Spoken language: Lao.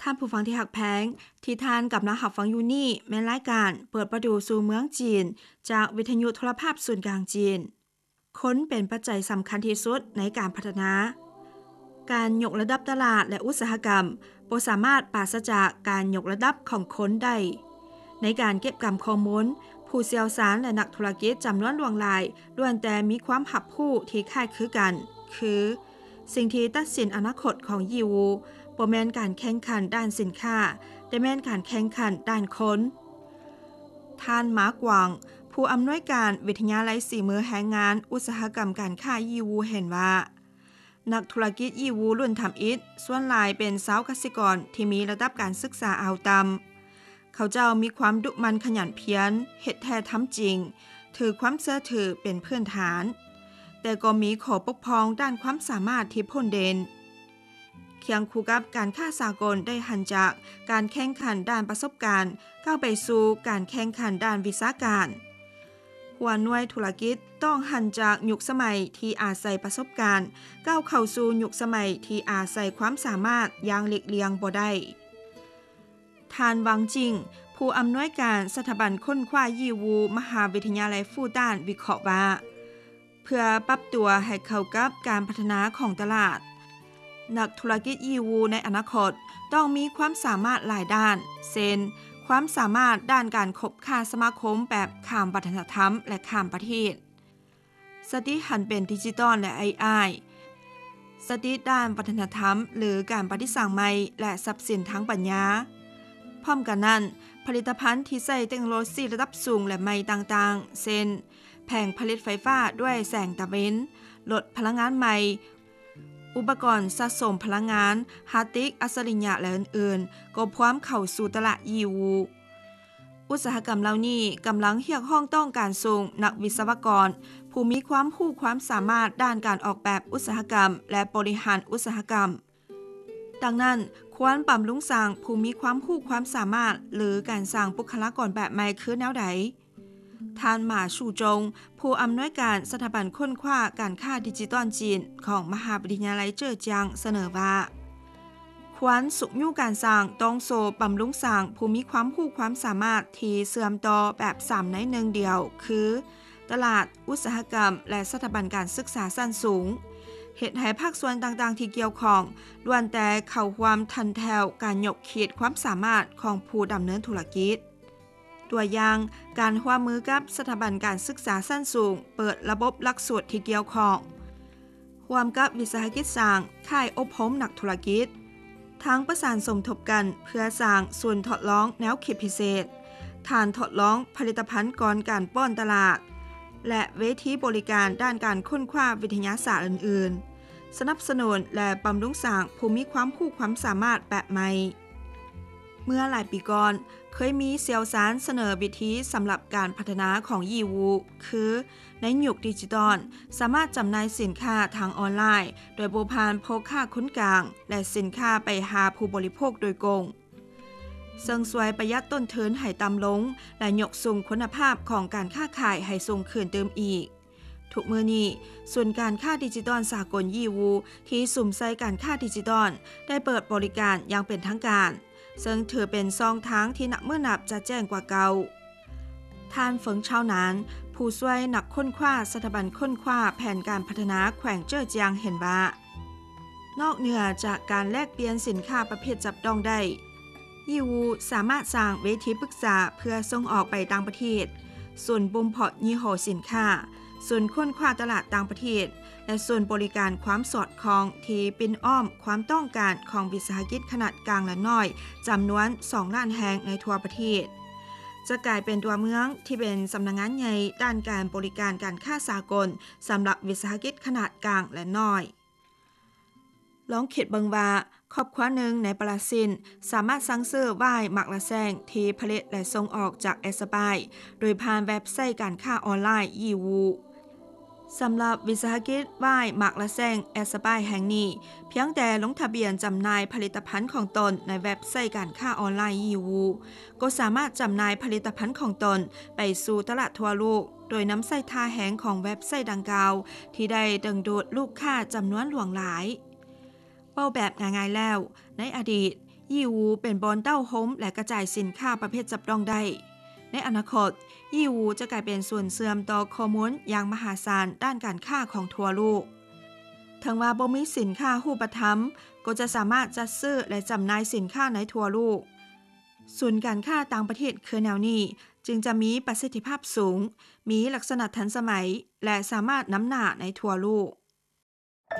ທ່ານຜູ້ຟັງທີ່ຮັກແພງ, ທີ່ທ່ານກຳລັງຮັບຟັງຢູ່ນີ້ແມ່ນລາຍການເປີດປະຕູສູ່ເມືອງຈີນ ຈາກວິທະຍຸໂທລະພາບສູນກາງຈີນ. ຄົນເປັນປັດໄຈສຳຄັນທີ່ສຸດໃນການພັດທະນາ. ການຍົກລະດັບຕະຫຼາດ ແລະ ອຸດສາຫະກຳບໍ່ສາມາດປາສະຈາກການຍົກລະດັບຂອງຄົນໄດ້. ໃນການເກັບກຳຂໍ້ມູນ, ຜູ້ຊ່ຽວຊານ ແລະ ນັກທຸລະກິດຈຳນວນຫຼວງຫຼາຍລ້ວນແຕ່ມີຄວາມຮັບຮູ້ທີ່ຄ້າຍຄືກັນ, ຄື ສິ່ງທີ່ຕັດສິນອະນາຄົດຂອງຢີຫວຸ່ບໍ່ແມ່ນການແຂ່ງຂັນດ້ານສິນຄ້າ, ແຕ່ແມ່ນການແຂ່ງຂັນດ້ານຄົນ. ທ່ານ ມາກວາງ, ຜູ້ອຳນວຍການວິທະຍາໄລສີມືແຮງງານອຸດສາຫະກຳການຄ້າຢີຫວຸ່ເຫັນວ່າ, ນັກທຸລະກິດຢີຫວຸ່ລຸ້ນທຳອິດສ່ວນຫຼາຍເປັນຊາວກະສິກອນທີ່ມີລະດັບການສຶກສາເອົາຕ່ຳ. ເຂົາເຈົ້າມີຄວາມດຸໝັ່ນຂະຫຍັນພຽນ, ເຮັດແທ້ທຳຈິງ, ຖືຄວາມເຊື່ອຖືເປັນພື້ນຖານ, ແຕ່ກໍມີຂໍ້ບົກຜ່ອງດ້ານຄວາມສາມາດທີ່ໂພດເດັ່ນ. ຄຽງຄູ່ກັບການຄ້າສາກົນໄດ້ຫັນຈາກການແຂ່ງຂັນດ້ານປະສົບການ ກ້າວໄປສູ່ການແຂ່ງຂັນດ້ານວິຊາການ. ຫົວໜ່ວຍທຸລະກິດຕ້ອງຫັນຈາກຍຸກສະໄໝທີ່ອາໄສປະສົບການ ກ້າວເຂົ້າສູ່ຍຸກສະໄໝທີ່ອາໄສຄວາມສາມາດຢ່າງຫຼີກລ່ຽງບໍ່ໄດ້. ທ່ານ ວັງຈິງ, ຜູ້ອຳນວຍການສະຖາບັນຄົ້ນຄວ້າຢີຫວຸ່ ມະຫາວິທະຍາໄລຟູຕານ ວິເຄາະວ່າ, ເພື່ອປັບຕົວໃຫ້ເຂົ້າກັບການພັດທະນາຂອງຕະຫຼາດ, ນັກທຸລະກິດຢີຫວຸ່ໃນອະນາຄົດຕ້ອງມີຄວາມສາມາດຫຼາຍດ້ານ, ເຊັ່ນ ຄວາມສາມາດດ້ານການຄົບຄ້າສະມາຄົມແບບຂ້າມວັດທະນະທຳ ແລະ ຂ້າມປະເທດ, ສະຕິຫັນເປັນດິຈິຕອນ ແລະ ເອໄອ, ສະຕິດ້ານວັດທະນະທຳ ຫຼື ການປະດິດສ້າງໃໝ່ ແລະ ຊັບສິນທາງປັນຍາ. ພ້ອມກັນນັ້ນ, ຜະລິດຕະພັນທີ່ໃຊ້ເຕັກໂນໂລຊີລະດັບສູງ ແລະ ໃໝ່ຕ່າງໆ ເຊັ່ນ ແຜງຜະລິດໄຟຟ້າດ້ວຍແສງຕາເວັນ, ລົດພະລັງງານໃໝ່, ອຸປະກອນສະສົມພະລັງງານ, ຮາດດິສອັດສະລິຍະ ແລະ ອື່ນໆ ກໍພວມເຂົ້າສູ່ຕະຫຼາດຢີຫວຸ່. ອຸດສາຫະກຳເຫຼົ່ານີ້ກຳລັງຮຽກຮ້ອງຕ້ອງການສູງນັກວິສະວະກອນ ຜູ້ມີຄວາມຮູ້ຄວາມສາມາດດ້ານການອອກແບບອຸດສາຫະກຳ ແລະ ບໍລິຫານອຸດສາຫະກຳ. ດັ່ງນັ້ນ, ຄວນບຳລຸງສ້າງຜູ້ມີຄວາມຮູ້ຄວາມສາມາດ ຫຼື ການສ້າງບຸກຄະລາກອນແບບໃໝ່ຄືແນວໃດ? ທ່ານ ໝາ ຊູຈົງ, ຜູ້ອຳນວຍການສະຖາບັນຄົ້ນຄວ້າການຄ້າດິຈິຕອນຈີນຂອງມະຫາວິທະຍາໄລເຈີຈຽງ ສະເໜີວ່າ, ຄວນຊຸກຍູ້ການສ້າງ, ຕ້ອງໂຊບຳລຸງສ້າງຜູ້ມີຄວາມຮູ້ຄວາມສາມາດທີ່ເຊື່ອມຕໍ່ແບບສາມໃນໜຶ່ງດຽວ ຄື ຕະຫຼາດ, ອຸດສາຫະກຳ ແລະ ສະຖາບັນການສຶກສາຊັ້ນສູງ, ເຮັດໃຫ້ພາກສ່ວນຕ່າງໆທີ່ກ່ຽວຂ້ອງລ້ວນແຕ່ເຂົ້າຮ່ວມທັນແຖວການຍົກຂີດຄວາມສາມາດຂອງຜູ້ດຳເນີນທຸລະກິດ. ຕົວຢ່າງ, ການຮ່ວມມືກັບສະຖາບັນການສຶກສາຊັ້ນສູງເປີດລະບົບຫຼັກສູດທີ່ກ່ຽວຂ້ອງ, ຮ່ວມກັບວິສາຫະກິດສ້າງຄ້າຍອົບຮົມນັກທຸລະກິດ, ທັງປະສານສົມທົບກັນເພື່ອສ້າງສູນທົດລອງແນວຄິດພິເສດ, ຖານທົດລອງຜະລິດຕະພັນກ່ອນການປ້ອນຕະຫຼາດ ແລະ ເວທີບໍລິການດ້ານການຄົ້ນຄວ້າວິທະຍາສາດອື່ນໆ, ສະໜັບສະໜູນ ແລະ ບຳລຸງສ້າງຜູ້ມີຄວາມຮູ້ຄວາມສາມາດແບບໃໝ່. ເມື່ອຫຼາຍປີກ່ອນ, ເຄີຍມີຊ່ຽວຊານສະເໜີວິທີສຳລັບການພັດທະນາຂອງຢີຫວຸ່ ຄື ໃນຍຸກດິຈິຕອນ, ສາມາດຈຳໜ່າຍສິນຄ້າທາງອອນລາຍໂດຍບໍ່ຜ່ານພໍ່ຄ້າຄົນກາງ ແລະ ສິນຄ້າໄປຫາຜູ້ບໍລິໂພກໂດຍກົງ, ເຊິ່ງຊ່ວຍປະຢັດຕົ້ນທຶນໃຫ້ຕ່ຳລົງ ແລະ ຍົກສູງຄຸນນະພາບຂອງການຄ້າຂາຍໃຫ້ສູງຂຶ້ນຕື່ມອີກ. ທຸກມື້ນີ້, ສູນການຄ້າດິຈິຕອນສາກົນຢີຫວຸ່ ທີ່ສຸມໃສ່ການຄ້າດິຈິຕອນ ໄດ້ເປີດບໍລິການຢ່າງເປັນທາງການ, ເຊິ່ງຖືເປັນຊ່ອງທາງທີ່ນັບມື້ນັບຈະແຈ້ງກວ່າເກົ່າ. ທ່ານ ເຟິງ ຊາວນານ, ຜູ້ຊ່ວຍນັກຄົ້ນຄວ້າສະຖາບັນຄົ້ນຄວ້າແຜນການພັດທະນາແຂວງເຈີຈຽງ ເຫັນວ່າ, ນອກເໜືອຈາກການແລກປ່ຽນສິນຄ້າປະເພດຈັບຕ້ອງໄດ້, ຢີຫວຸ່ສາມາດສ້າງເວທີປຶກສາເພື່ອສົ່ງອອກໄປຕ່າງປະເທດ, ສູນບົ່ມເພາະຍີ່ຫໍ້ສິນຄ້າ, ສູນຄົ້ນຄວ້າຕະຫຼາດຕ່າງປະເທດ ແລະ ສູນບໍລິການຄວາມສອດຄ່ອງທີ່ປິ່ນອ້ອມຄວາມຕ້ອງການຂອງວິສາຫະກິດຂະໜາດກາງ ແລະ ນ້ອຍ ຈຳນວນສອງລ້ານແຫ່ງໃນທົ່ວປະເທດ, ຈະກາຍເປັນຕົວເມືອງທີ່ເປັນສຳນັກງານໃຫຍ່ດ້ານການບໍລິການການຄ້າສາກົນສຳລັບວິສາຫະກິດຂະໜາດກາງ ແລະ ນ້ອຍ. ລອງຄິດເບິ່ງວ່າ, ຄອບຄົວໜຶ່ງໃນບຣາຊິນສາມາດສັ່ງຊື້ຫວ້າຍໝາກລະແຊງທີ່ຜະລິດ ແລະ ສົ່ງອອກຈາກແອັດສະປາຍ ໂດຍຜ່ານເວັບໄຊການຄ້າອອນລາຍ Yiwu. ສຳລັບວິສາຫະກິດຫວ້າຍໝາກລະແຊງແອັດສະປາຍແຫ່ງນີ້, ພຽງແຕ່ລົງທະບຽນຈຳໜ່າຍຜະລິດຕະພັນຂອງຕົນໃນເວັບໄຊການຄ້າອອນລາຍ Yiwu, ກໍສາມາດຈຳໜ່າຍຜະລິດຕະພັນຂອງຕົນໄປສູ່ຕະຫຼາດທົ່ວໂລກ ໂດຍນຳໃຊ້ທ່າແຮງຂອງເວັບໄຊດັ່ງກ່າວ ທີ່ໄດ້ດຶງດູດລູກຄ້າຈຳນວນຫຼວງຫຼາຍ. ເວົ້າແບບງ່າຍໆແລ້ວ, ໃນອະດີດ, ຍີ່ຫູເປັນບ່ອນເຕົ້າໂຮມ ແລະ ກະຈາຍສິນຄ້າປະເພດຈັບຕ້ອງໄດ້. ໃນອະນາຄົດ, ຍີ່ຫູຈະກາຍເປັນສູນເຊື່ອມຕໍ່ຂໍ້ມູນຢ່າງມະຫາສານດ້ານການຄ້າຂອງທົ່ວໂລກ. ເຖິງວ່າບໍ່ມີສິນຄ້າຮູບປະທຳ, ກໍຈະສາມາດຈັດຊື້ ແລະ ຈຳໜ່າຍສິນຄ້າໃນທົ່ວໂລກ. ສູນການຄ້າຕ່າງປະເທດຄືແນວນີ້ ຈຶ່ງຈະມີປະສິດທິພາບສູງ, ມີລັກສະນະທັນສະໄໝ ແລະ ສາມາດນຳໜ້າໃນທົ່ວໂລກ.